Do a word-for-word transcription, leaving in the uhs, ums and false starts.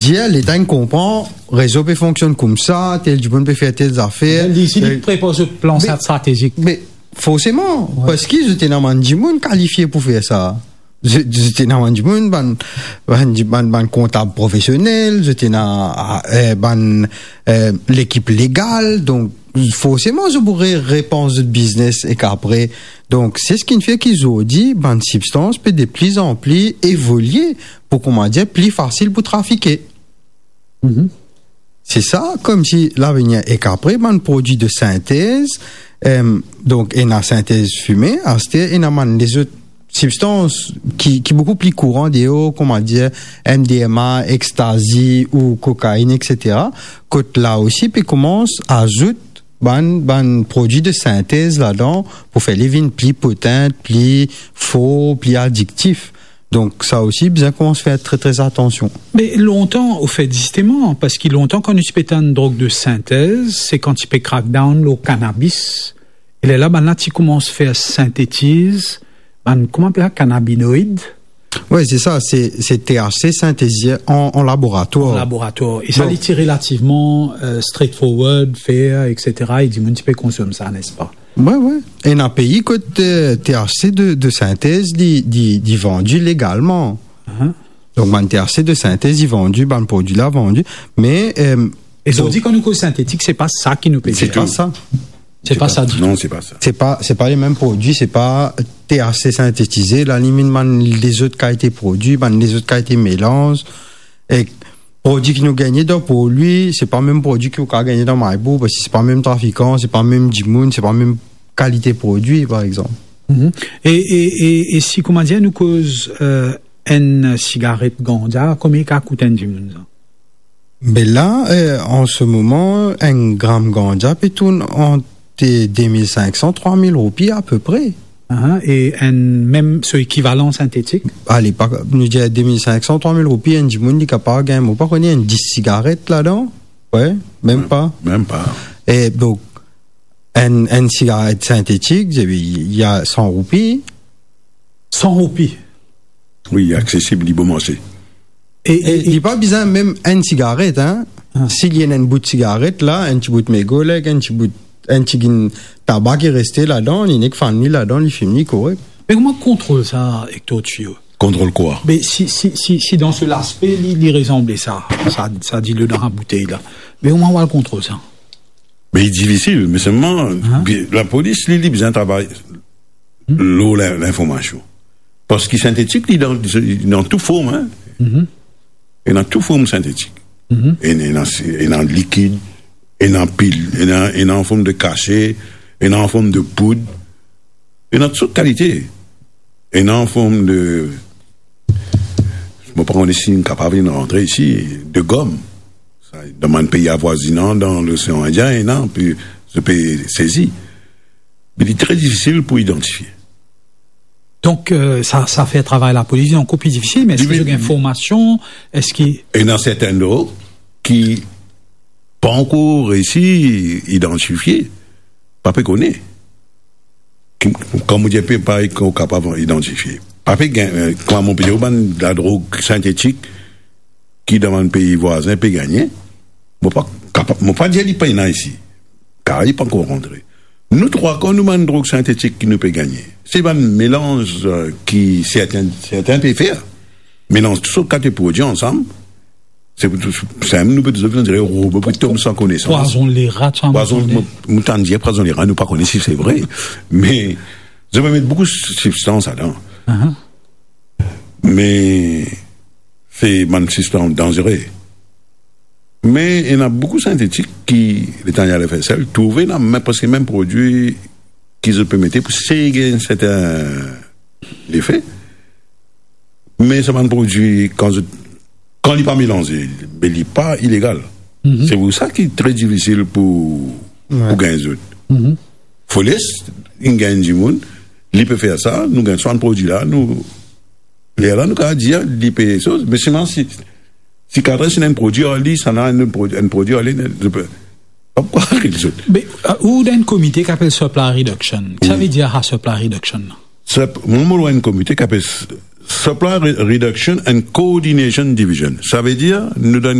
dir, Leta inn konpran, rezo pe fonksionn koumsa, tel dimoun pe fer tel zafer. Li, si li, eh, prepar so plan, me, stratezik. Me forseman, wi, parski zot ena bann dimoun kalifie pou fer sa. Zot, zot ena bann dimoun, bann, bann, bann, bann kontab profesionel, zot ena, eh, bann, eh, lekip legal, donk forseman, zot pou re-, repans zot biznes ek apre. Donk, se seki finn fer ki zordi, bann sibstans pe de pli an pli evolie pou, kouma dir, pli fasil pou trafike. Mhm. Se sa, koumsi lavenir. Ek apre, bann prodwi de sintez, em, donk, ena sintez fime, aster ena bann lezot sibstans ki, ki boukou pli kouran deor, kouma dir, M D M A, extazi ou kokainn, et cetera. Kot la osi pe koumans azout bann, bann prodwi de sintez ladan pou fer li vinn pli potan, pli for, pli adiktif. Donk, sa osi, bizin koumans fer tre, tre atansion. Me lontan, anfet, zisteman, parski lontan, kan nou ti pe tann drog de sintez, se kan ti pe crackdown lor kanabis, e lerla, bann la ti koumans fer sintetiz, bann, kouma apel sa, kanabinoid? Wi, se sa, se, se T H C sintetize an, an laboratwar. An laboratwar. E sa, donk, li ti relativman, eh, straightforward, fair, et cetera. E dimoun ti pe konsom sa, nespa? Wi, wi. Ena pei kot, eh, T H C de, de sintez, li, li, li vandi legalman. Aha. Donk, bann T H C de sintez, li vandi, bann prodwi la vandi. Me, eh, e donk, zordi, kan nou koz sintetik, se pa sa ki nou pe dir. Se pa sa. Se pa sa ditou. Non, se pa sa. Se pa, se pa le mem prodwi, se pa T H C sintetize, la limit bann lezot kalite prodwi, bann lezot kalite melanz. E prodwi ki nou gagne dan prodwi, se pa mem prodwi ki ou kav gagne dan Maribor, parski se pa mem trafikan, se pa mem dimoun, se pa mem kalite prodwi, par exanp. Mhm. E, e, e, e si, kouma dir, nou koz, eh, enn sigaret ganja, konbien li kav kout enn dimoun sa? Be la, eh, an se moman, enn gram ganja pe tourn ant de mil sink san, trwa mil roupi apepre. Aha, e enn mem so ekivalan sintetik? Alepok, nou dir de mil sink san, trwa mil roupi, enn dimoun li kapav gagn, mo pa kone, enn dis sigaret ladan. Wi, mem pa. Mem pa. E donk, enn, enn sigaret sintetik, li a san roupi. San roupi? Wi, aksesib, li bon marse. E, e, e li pa bizin mem enn sigaret, hein. Ah. Si li ena enn bout sigaret la, enn ti bout mego la, enn ti bout, enn tigit taba ki reste ladan, li nek fann li ladan, li fim li korek. Me kouma kontrol sa, Hector Thuillot? Kontrol kwa? Me si, si, si, si dan se laspe, li, li resanble sa, sa, sa dilo dan sa boutey la. Me kouma ou al kontrol sa? Me li difisil, me selman, ah, bi-, lapolis, li, li bizin travay lor lin-, linformasion. Parski sintetik, li dan, li dan tou form, hein. Mhm. Ena tou form sintetik. Mhm. Ena, ena, ena likid, ena pil, ena, ena an form de kase, ena an form de poud, ena tou sort kalite. Ena an form de, mo pa kone si nou kapav vinn rantre isi, de gom. Sa, dan bann pei avwazinan, dan Losean Indien, ena, pi zot pe sezi. Me li tre difisil pou idantifie. Donk, euh, sa, sa fer travay lapolis ankor pli difisil, me eski zot gagn formasion? Eski ena sertin drog ki pa ankor reisi idantifie, pa pe kone. Ki, kan mo dir pe, pa, ki kapav idantifie. Pa pe gagn, euh, kouma mo pe dir, bann ladrog sintetik ki dan bann pei vwazin pe gagne, mo pa kapa-, mo pa dir li pena isi, kar li pa ankor rantre. Nou trwa kan nou bann drog sintetik ki nou pe gagne, se bann melanz, euh, ki sertin, sertin pe fer. Melanz tou sort kalite prodwi ansam. Se pou tou, se nou pe touzour, on dirait, robo pou tom san konesans. Pwazon lera, sa, pwazon, mo, mo tann dir pwazon lera, nou pa kone si se vre. Me, zot pe met boukou sibstans ladan. Aha. Me se bann sibstans danzere. Me ena boukou sintetik ki, letan li al fer sel, trouve ena mem, preske mem prodwi ki zot pe mete pou seye gagn sertin lefe. Me sa bann prodwi, kan zot, kan li pa melanze, be li pa ilegal. Mhm. Se pou sa ki tre difisil pou, wi, pou gagn zot. Mhm. Fo les, inn gagn dimoun, li pe fer sa, nou gagn swa bann prodwi la, nou, lerla nou kapav dir li pe soz, me selman si, si kadre si ena enn prodwi ar li, sa ena enn prodwi, enn prodwi ar li, nou pe, pa pou arete zot. Me, euh, ou dan enn komite ki apel supply reduction. Ki sa, wi, ve dir sa, supply reduction la? Sup-, mwa, mo dan enn komite ki apel s-, Supply Re-, Reduction and Coordination Division. Savedir nou dan